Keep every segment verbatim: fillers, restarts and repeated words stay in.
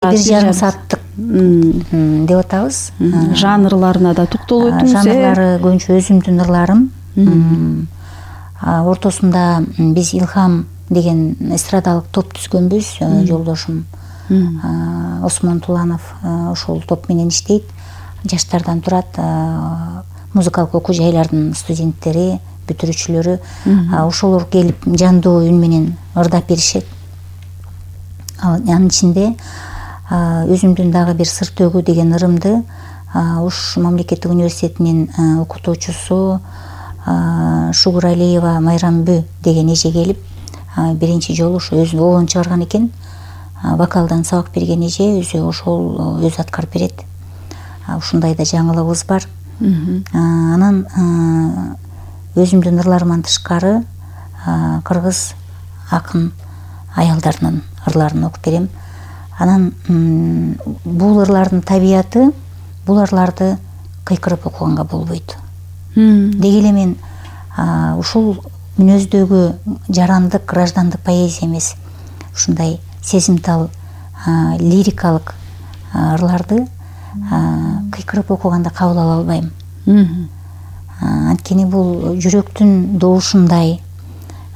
бир жарым сааттык деп атабыз. Жанрларына да токтолуп өтүңүз. Жанрлары көбүнчө өзүмдүн ырларым. Ортосунда биз Илхам деген эстрадалык топ түзгөнбүз. Жолдошум Осмон Туланов ошол топ менен иштейт. Жаштардан турат. Музыкалык окуу жайлардын студенттери, бүтүрүүчүлөрү. Ошолор келип жандуу үн менен ырдап беришет. Анын ичинде өзүмдүн дагы бир сыр төгүү деген ырымды Уш мамлекеттик университетинин окутуучусу Шугуралиева Майрамбү деген эже келип биринчи жолу ушу өзү оон чыгарган экен. Вокалдан сабак берген эже өзү ошол өзү аткарып берет. Ушундай да жаңылыгыбыз бар. Анан өзүмдүн ырларыман тышкары кыргыз акын аялдарынын ырларын окуп берем. Анан бул ырлардын табияты бул ырларды кыйкырып окуганга болбойт. Деги эле мен ушул мүнөздөгү жарандык, граждандык поэзия эмес, ушундай сезимтал, лирикалык ырларды кыйкырып окуганда кабыл ала албайм. Анткени бул жүрөктүн добушундай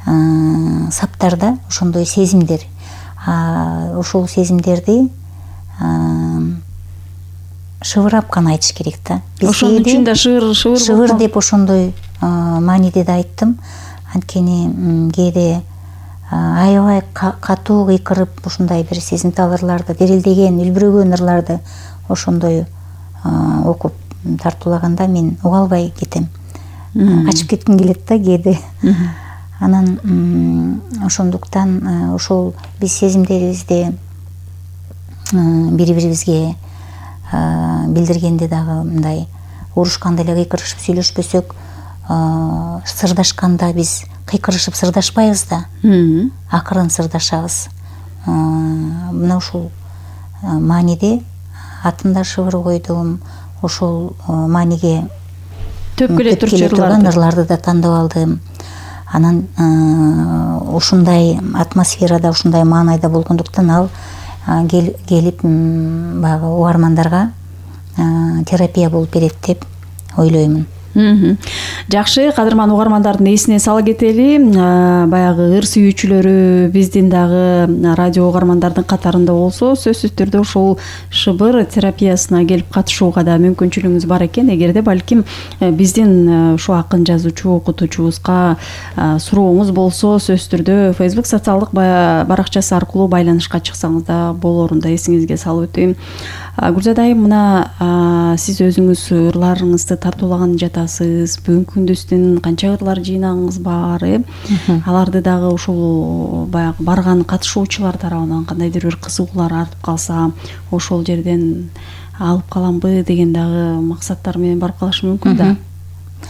саптарда ошондой сезимдер. Ошол сезимдерди шыбырап гана айтыш керек да. Ошонун үчүн да шыбыр шыбыр шыбыр деп ошондой мааниде да айттым. Анткени кээде аябай катуу кыйкырып ушундай бир сезимтал ырларды, дирилдеген, үлбүрөгөн ырларды ошондой окуп тартуулаганда мен уга албай кетем. Качып кетким келет да кээде. Анан ошондуктан ошол биз сезимдерибизди бири-бирибизге билдиргенде дагы мындай урушканда эле кыйкырышып сүйлөшпөсөк, сырдашканда биз кыйкырышып сырдашпайбыз да, акырын сырдашабыз. Мына ушул мааниде атында шыбыр койдум, ошол мааниге төп келе турган ырларды да тандап алдым. Анан ушундай атмосферада, ушундай маанайда болгондуктан ал келип баягы угармандарга терапия болуп берет деп ойлоймун. Жакшы, кадырман угармандардын эсине сала кетели. Баягы ыр сүйүүчүлөрү биздин дагы радио угармандардын катарында болсо, сөзсүз түрдө ошол шыбыр терапиясына келип катышууга да мүмкүнчүлүгүңүз бар экен. Эгерде балким биздин ушу акын жазуучу окутуучубузга сурооңуз болсо, сөзсүз түрдө Facebook социалдык баракчасы аркылуу байланышка чыксаңыз да болорун да эсиңизге салып өтөйм. Гүлзада айым, мына сиз өзүңүз ырларыңызды тартуулаган жатасыз. Бүгүнкү күндүздүн канча ырлар жыйнагыңыз бар, э? Аларды дагы ушул баягы барган катышуучулар тарабынан кандайдыр бир кызыгуулар артып калса, ошол жерден алып каламбы деген дагы максаттар менен барып калышы мүмкүн да.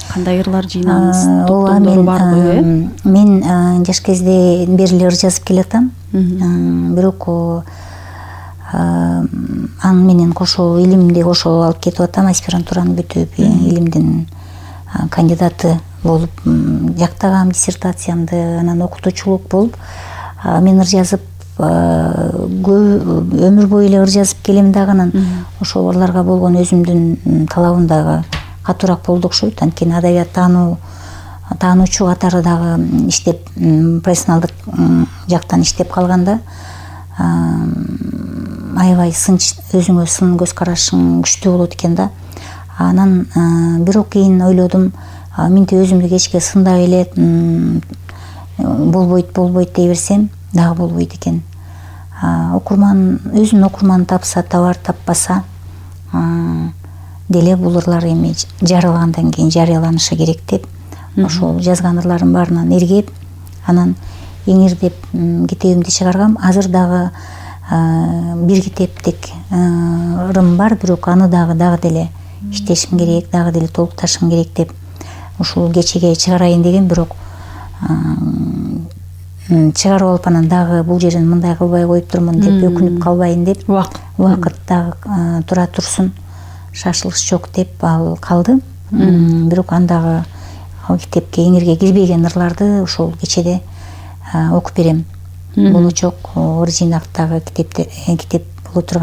Кандай ырлар жыйнагыңыз, топтомдору барбы, э? Мен жаш кезде бери эле ыр жазып келатам. Бирок аны менен кошо илимди кошо алып кетип атам. Аспирантураны бүтүп, илимдин кандидаты болуп жактагам диссертациямды, анан окутуучулук болуп мен ыр жазып өмүр бою эле ыр жазып келем дагы. Анан ошол ырларга болгон өзүмдүн талабым дагы катуураак болду окшойт. Анткени адабият таануу таануучу катары дагы иштеп, профессионалдык жактан иштеп калганда аябай өзүңө сын көз карашың күчтүү болот экен да. Анан бирок кийин ойлодум, менти өзүмдү кечке сындап эле болбойт болбойт дей берсем дагы болбойт экен. Окурман өзүнүн окурманын тапса табар, таппаса деле бул ырлар эми жарыялагандан кийин жарыяланышы керек деп ошол жазган ырларым баарынан эргеп, анан эңир деп китебимди чыгаргам. Азыр дагы бир китептик ырым бар, бирок аны дагы дагы деле иштешим керек, дагы деле толукташым керек деп ушул кечеге чыгарайын деген. Бирок чыгарып алып анан дагы бул жерин мындай кылбай коюп турмун деп өкүнүп калбайын деп, убакыт дагы тура турсун, шашылыш жок деп ал калды. Бирок андагы ал китепке, эңирге кирбеген ырларды ошол кечеде окуп берем. Болочок ыр жыйнактагы китеп боло турган